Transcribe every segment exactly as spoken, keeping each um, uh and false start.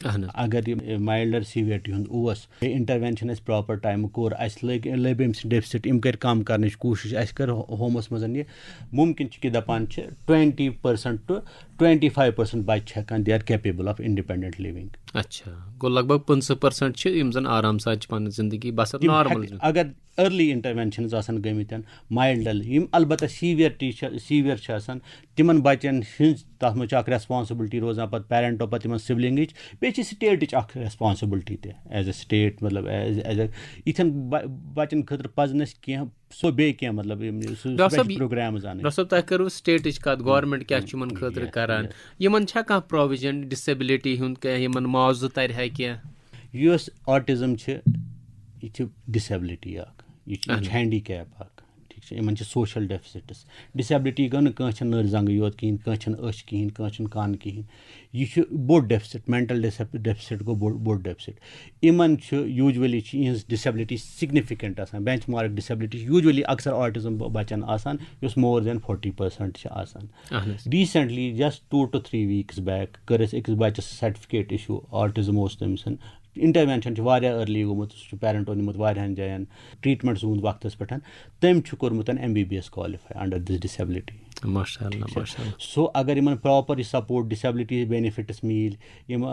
اہن حظ۔ اگر یہِ مایلڈر سیویرٹی ہُنٛد اوس، انٹروینشن اَسہِ پراپر ٹایمہٕ کوٚر، اَسہِ لٔگۍ لٔبۍ أمۍ سٕنٛدۍ ڈیفسٹ، یِم کٔرۍ کم کرنٕچ کوٗشش، اَسہِ کٔر ہومس منٛز یہِ۔ مُمکِن چھُ کہِ دپان چھِ twenty percent to twenty five percent بچہِ چھِ ہٮ۪کان، they are capable of independent living۔ اچھا، گوٚو لگ بگ پٕنٛژٕہ پٔرسنٹ چھِ یِم زن آرام سان چھِ پنٕنۍ زندگی بسر تِم نارمل۔ ہٮ۪کہِ، اگر ارلی انٹروینشنز آسن گٔمٕتۍ، مایلڈل، یِم البتہ سیویرٹی چھِ، سیویر چھِ آسان، تِمن بچن ہٕنٛز تتھ منٛز چھِ اکھ ریسپانسبلٹی روزان پتہٕ پیرنٹو، پتہٕ تِمن سبلنگٕچ، بیٚیہِ چھِ سٹیٹٕچ اکھ ریسپانسبلٹی تہِ ایز اے سٹیٹ، مطلب ایز ایز اے یِتھٮ۪ن بچن خٲطرٕ پزن اَسہِ کینٛہہ سُہ بیٚیہِ کینٛہہ، مطلب یِم سُہ ڈاکٹر صٲب، پروگرامز انٕنۍ۔ ڈاکٹر صٲب، تۄہہِ کٔروٕ سٹیٹٕچ کتھ، گورنمنٹ کیٛاہ چھُ یِمن خٲطرٕ کران؟ یِمن چھا کانٛہہ پروویجن ڈسیبلٹی ہُنٛد، کینٛہہ یِمن معاوضہٕ ترِ ہا کینٛہہ؟ یُس آٹزم چھِ، یہِ چھِ ڈسیبلٹی اکھ، یہِ چھِ یہِ چھِ ہینڈی کیپ اکھ، ٹھیٖک چھِ، یِمن چھِ سوشل ڈیفسٹس۔ ڈسیبلٹی گٔے نہٕ کٲنٛسہِ چھَنہٕ نٔر زنٛگہٕ یوت کِہیٖنۍ، کٲنٛسہِ چھَنہٕ أچھ کِہیٖنۍ، کٲنٛسہِ چھُنہٕ کَن کِہیٖنۍ۔ یہِ چھُ بوٚڑ ڈیفسٹ، مینٹل ڈیفسٹ گوٚو بوٚڑ بوٚڑ ڈیفسٹ۔ یِمن چھُ یوٗجولی چھِ یِہٕنٛز ڈسیبلٹی سگنیفیکینٹ آسان، بینچ مارک ڈسیبلٹی چھِ یوٗجولی اکثر آٹزم بچن آسان، یُس مور دین فورٹی پرسنٹ چھِ آسان۔ اہن حظ۔ Recently, just two to three weeks back، کٔر اَسہِ أکِس بَچَس سرٹیفکیٹ اِشوٗ، آٹزم اوس تٔمۍ سٕنٛد۔ انٹروینشن چھُ واریاہ ارلی گوٚمُت، سُہ چھُ پیرنٹو نِمُت واریاہن جاین، ٹریٹمنٹ چھُ گوٚمُت وقتس پٮ۪ٹھ۔ تٔمۍ چھُ کوٚرمُت M B B S qualify under this disability۔ ماشاء اللہ، ماشاء اللہ۔ سو اگر یِمن پراپر یہِ سپورٹ، ڈسیبلٹی بینیفٹس میلۍ، یِم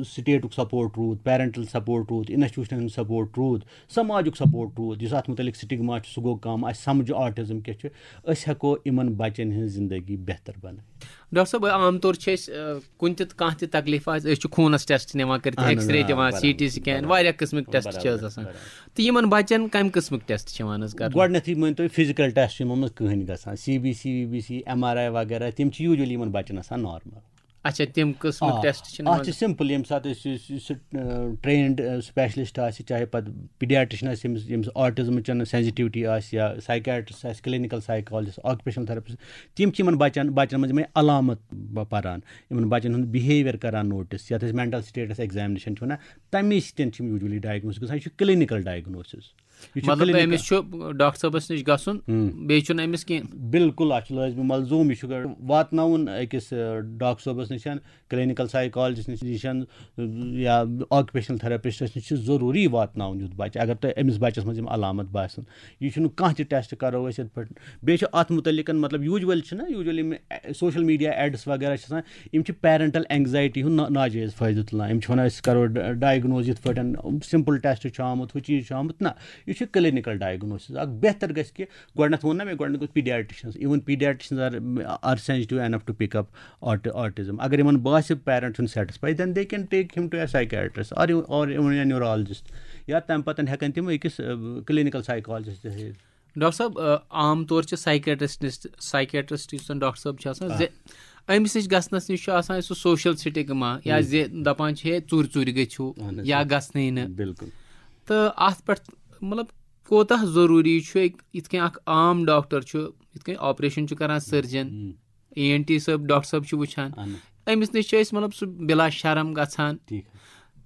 سٹیٹُک سپورٹ روٗد، پیرنٹل سپورٹ روٗد، انسٹیٹیوشنن ہُنٛد سپورٹ روٗد، سماجُک سپورٹ روٗد، یُس اتھ متعلق سٹگما چھُ سُہ گوٚو کم، اسہِ سمجھ آٹزم کیٛاہ چھُ، أسۍ ہٮ۪کو یِمن بچن ہٕنٛز زندگی بہتر بنٲوِتھ۔ ڈاکٹر صٲب، عام طور چھِ أسۍ، آ، کُنہِ تہِ، کانٛہہ تہِ تکلیف آسہِ، أسۍ چھِ خوٗنس ٹیسٹ نِوان کٔرِتھ، اہن حظ، ایکس رے آ، دِوان، برابر، سی ٹی سکین، برابر، واریاہ قٕسمٕکۍ ٹیسٹ چھِ حظ برابر، آسان۔ برابر۔ تہٕ یِمن بچن کمہِ قٕسمٕکۍ ٹیسٹ چھِ یِوان حظ کرنہٕ؟ گۄڈٕنیتھٕے مٲنۍ تو، فزیکل ٹیسٹ چھِ یِمن منٛز کٕہٕنۍ گژھان، C B C, V B C, M R I وغیرہ، تِم چھِ یوٗجولی یِمن بچن آسان نارمل۔ اچھا، تِم قٕسمٕکۍ ٹیسٹ چھِ اتھ چھِ سمپل، ییٚمہِ ساتہٕ أسۍ یُس یُس سُہ ٹرینڈ سپیشلسٹ آسہِ، چاہے پتہٕ پیڈیاٹرشن آسہِ، ییٚمِس ییٚمِس آٹزمٕچ سینسٹیوٹی آسہِ، یا سائیکیٹرسٹ آسہِ، کلینیکل سائیکالجسٹ، آکوپیشنل تھراپسٹ، تِم چھِ یِمن بچن بچن منٛز یِمے علامت ب- پران، یِمن بچن ہُنٛد بِہیویئر کران نوٹس، یتھ أسۍ مینٹل سٹیٹس ایگزامنیشن چھِ ونان، تمے سۭتۍ چھِ یِم یوٗجولی ڈائگنوز گژھان۔ یہِ چھُ کلینیکل ڈائگنوسس۔ یہِ چھُ مطلب clinical۔ أمِس چھُ ڈاکٹر صٲبس نِش گژھُن، بیٚیہِ چھُنہٕ أمِس کینٛہہ۔ بالکل، اتھ چھُ لٲزمی ملزوم، یہِ چھُ گۄڈٕ واتناوُن أکِس، آ، ڈاکٹر صٲبس نِش، کلینیکل سائیکالجسٹ نِش، یا آکوپیشنل تھراپسٹس نِش چھُ ضروٗری واتناوُن یُتھ بچہِ، اگر تۄہہِ أمِس بچس منٛز یِم علامت باسن۔ یہِ چھُنہٕ کانٛہہ تہِ ٹیسٹ کرو أسۍ یِتھ پٲٹھۍ۔ بیٚیہِ چھُ اتھ متعلق، مطلب، یوٗجول چھُنہ، یوٗجول یِم سوشل میڈیا ایڈس وغیرہ چھِ آسان، یِم چھِ پیرنٹل اینگزایٹی ہُنٛد نا- ناجٲیز فٲیدٕ تُلان۔ یِم چھِ ونان، أسۍ کرو ڈ- ڈائگنوز یِتھ پٲٹھۍ، سمپل ٹیسٹ چھُ آمُت، ہُہ چیٖز چھُ آمُت۔ نہ، یہِ چھُ کلینیکل ڈائگنوسس۔ اکھ بہتر گژھِ کہِ گۄڈٕنیتھ ووٚن نہ مےٚ، گۄڈٕنیتھ گوٚژھ پیڈیاٹرشنس، even pediatricians are, are sensitive enough to pick up auti- autism۔ اگر یِمن باسہِ parent چھُنہٕ satisfy, then they can take him to a psychiatrist or, or even a neurologist۔ یا تمہِ پتہٕ ہٮ۪کن تِم أکِس کلینیکل سائیکالجسٹ تہِ ہٲوِتھ۔ ڈاکٹر صٲب، آ، عام طور چھِ سائیکیٹرسٹ، سائیکیٹرسٹ یُس زن ڈاکٹر صٲب چھِ آسان، زِ أمِس نِش گژھنس نِش چھُ آسان سُہ سوشل سٹگما، یا زِ دپان چھِ، ہے، ژوٗرِ ژوٗرِ گٔژھِو، اہن حظ۔ یا گژھنٕے نہٕ۔ بالکل۔ تہٕ اتھ پٮ۪ٹھ، مطلب، کوٗتاہ ضروٗری چھُ أکۍ، یِتھ کٔنۍ اکھ عام ڈاکٹر چھُ، یِتھ کٔنۍ آپریشن چھُ کران سٔرجن، اے این ٹی صٲب، ڈاکٹر صٲب چھِ وٕچھان، اہن حظ۔ أمِس نِش چھِ أسۍ، مطلب، سُہ بلا شرم گژھان۔ ٹھیٖک۔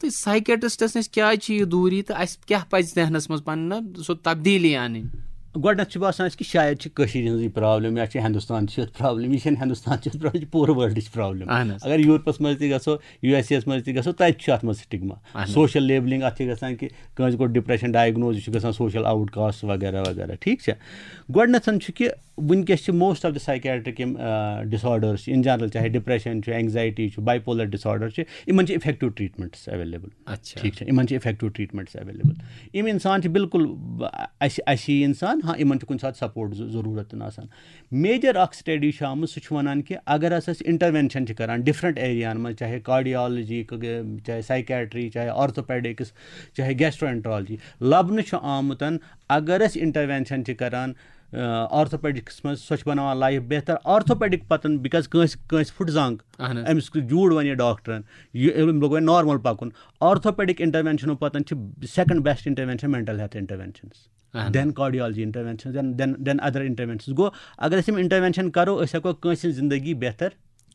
تہٕ سائیکیٹرسٹس نِش کیٛازِ چھِ یہِ دوٗری تہٕ اَسہِ کیٛاہ پَزِ ذہنس منٛز پننہِ سُہ تبدیٖلی اَنٕنۍ؟ گۄڈٕنیتھ چھُ باسان اَسہِ کہِ شاید چھِ کٔشیٖرِ ہٕنٛزٕے پرابلم یا چھِ ہندوستان چھِ یَتھ پرابلم، یہِ چھَنہٕ ہندوستان چھِ یَتھ پرابلم، یہِ چھِ پوٗرٕ ورلڈٕچ پرابلم۔ اہن حظ۔ اگر یورپس منٛز تہِ گژھو، یو ایس اے یس منٛز تہِ گژھو، تَتہِ چھُ اَتھ منٛز سٹگما۔ اہن حظ۔ سوشل لیبلنگ اَتھ چھِ گژھان کہِ کٲنٛسہِ گوٚو ڈپریشن ڈائگنوز، یہِ چھُ گژھان سوشل آؤٹ کاسٹ وغیرہ وغیرہ، ٹھیٖک چھا؟ گۄڈٕنیتھ چھُ کہِ وٕنکیٚس چھِ موسٹ آف دی سائیکیٹرک یِم ڈس آرڈرس چھِ ان جنرل، چاہے ڈپریشن چھُ، اینگزایٹی چھُ، بائی پولر ڈس آرڈر چھِ، یِمن چھِ افیکٹو ٹریٹمنٹس ایویلیبل۔ اچھا۔ ٹھیٖک چھا؟ یِمن چھِ افیکٹو ٹریٹمنٹس ایویلیبل۔ یِم انسان چھِ بالکل، ب- اسہِ اسہِ ہی انسان، ہاں، یِمن چھُ کُنہِ ساتہٕ سپورٹ ضروٗرت تہِ آسان۔ میجر اکھ سٹڈی چھُ آمُت، سُہ چھُ ونان کہِ اگر ہسا أسۍ انٹروینشن چھِ کران ڈفرنٹ ایریاہن منٛز، چاہے کارڈیالجی، چاہے سائیکیٹری، چاہے آرتھوپیڈکس، چاہے گیسٹرو انٹرالجی، لبنہٕ چھُ آمُت اگر أسۍ انٹروینشن چھِ کران آرتھوپیڈکس منٛز، سۄ چھِ بناوان لائف بہتر۔ آرتھوپیڈک پتن، بِکاز کٲنٛسہِ کٲنٛسہِ پھُٹ زنٛگ، اہن حظ۔ أمِس جوٗڑ وَنہِ ڈاکٹرن، یہِ أمۍ لوٚگ وۄنۍ نارمل پَکُن۔ آرتھوپیڈک انٹروینشنو پَتہٕ چھِ second best intervention mental health interventions, اہن۔ دین کارڈیالجی انٹروینشن، دین دین ادر انٹروینشنز۔ گوٚو، اگر أسۍ یِم انٹروینشن کرو، أسۍ ہٮ۪کو کٲنٛسہِ ہٕنٛز زندگی بہتر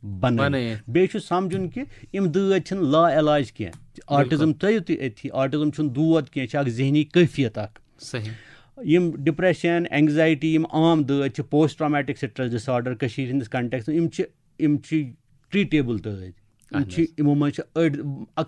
بنٲوِتھ۔ بنٲوِتھ۔ بیٚیہِ چھُ سمجھُن کہِ یِم دٲدۍ چھِنہٕ لا علاج کینٛہہ۔ آٹزم تھٲیِو تُہۍ أتھی، آٹزم چھُنہٕ دود کینٛہہ، یہِ چھِ اکھ ذہنی کیفیت اکھ۔ صحیح۔ یِم ڈپریشن، اینگزایٹی، یِم عام دٲدۍ چھِ، پوسٹ ٹرامیٹک سٹریس ڈس آرڈر کٔشیٖرِ ہٕنٛدِس کنٹیکسس، یِم چھِ یِم چھِ ٹریٹیبل دٲدۍ۔ یِم اہن چھِ، حظ۔ یِمو منٛز چھِ أڑۍ، اکھ